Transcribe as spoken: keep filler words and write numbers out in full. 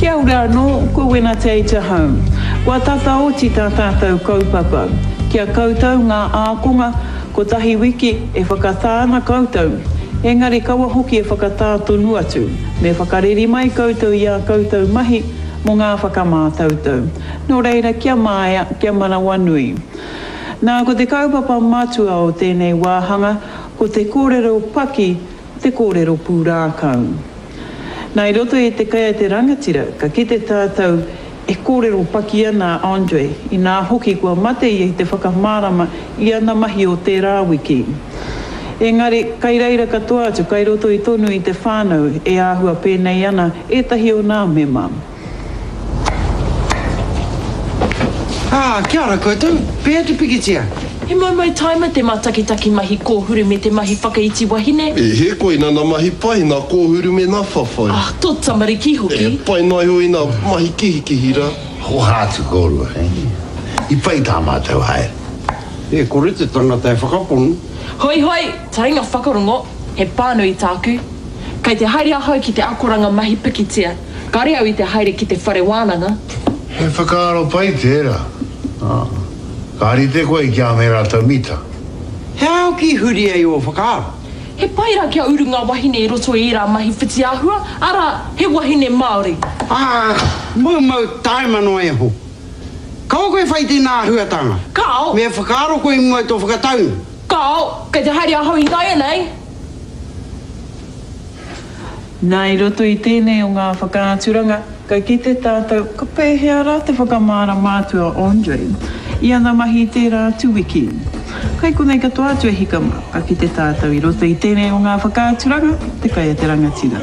Kia ora anō, ko Wena Te Hau. Kua tata oti tā tātou kaupapa. Kia koutou ngā ākonga, kotahi wiki e whakatā ana koutou. Engari kaua hoki e whakatā tonu atu. Me whakareri mai koutou i ā koutou mahi mō ngā whakamātautau. Nō reira, kia māia, kia manawanui. Nā, ko te kaupapa matua o tēnei wāhanga, ko te kōrero paki, te kōrero pūrākau. Nā, i roto i te kai a te rangatira, ka kite tātou e kōrero paki ana a Andre, inā hoki kua mate ia i te whakamārama i ana mahi o tērā wiki. Engari, kai reira katoa atu, kai roto i tonu i te whānau e āhua pēnei ana ētahi o nā mema. Ah, kia ora koutou, pēhea te pikitia? He maumau taima te mātakitaki mahi kōhuru me te mahi whakaiti wahine. E he koe nā mahi pai, nā kōhuru me nā whawhai. Ah, tō tamariki hoki. E pai noa iho i nā mahi kihikihi rā. Hoha atu kōrua, eh? I pai tā mātou haere. E kore te tangata e whakapono. Hoi hoi, taringa whakarongo, he pānui tāku. Kei te haere ahau ki te akoranga mahi pikitia. Kāre au i te haere ki te whare wānanga. He whakaaro pai tērā. Ah. Ka rite koe ki a me rātou mita. He ao ki huri ai o whakaaro. He pai rā kia uru ngā wahine i roto i ērā mahi whitiāhua, arā, he wahine Māori. Ah, maumau taima noa iho. Kaua koe whai tēnā āhuatanga. Kao! Me whakaaro koe i mua i tō whakataunga. Kao, kei te haere ahau ināianei. Nā, i roto i tēnei o ngā whakaaturanga, ka kite tātou, ka pēhea rā te whakamārama atu a Andre i ana mahi i tērā atu wiki. Kai konei katoa atu e hika mā, ka kite tātou i roto i tēnei o ngā whakaaturanga, te kai a te rangatira.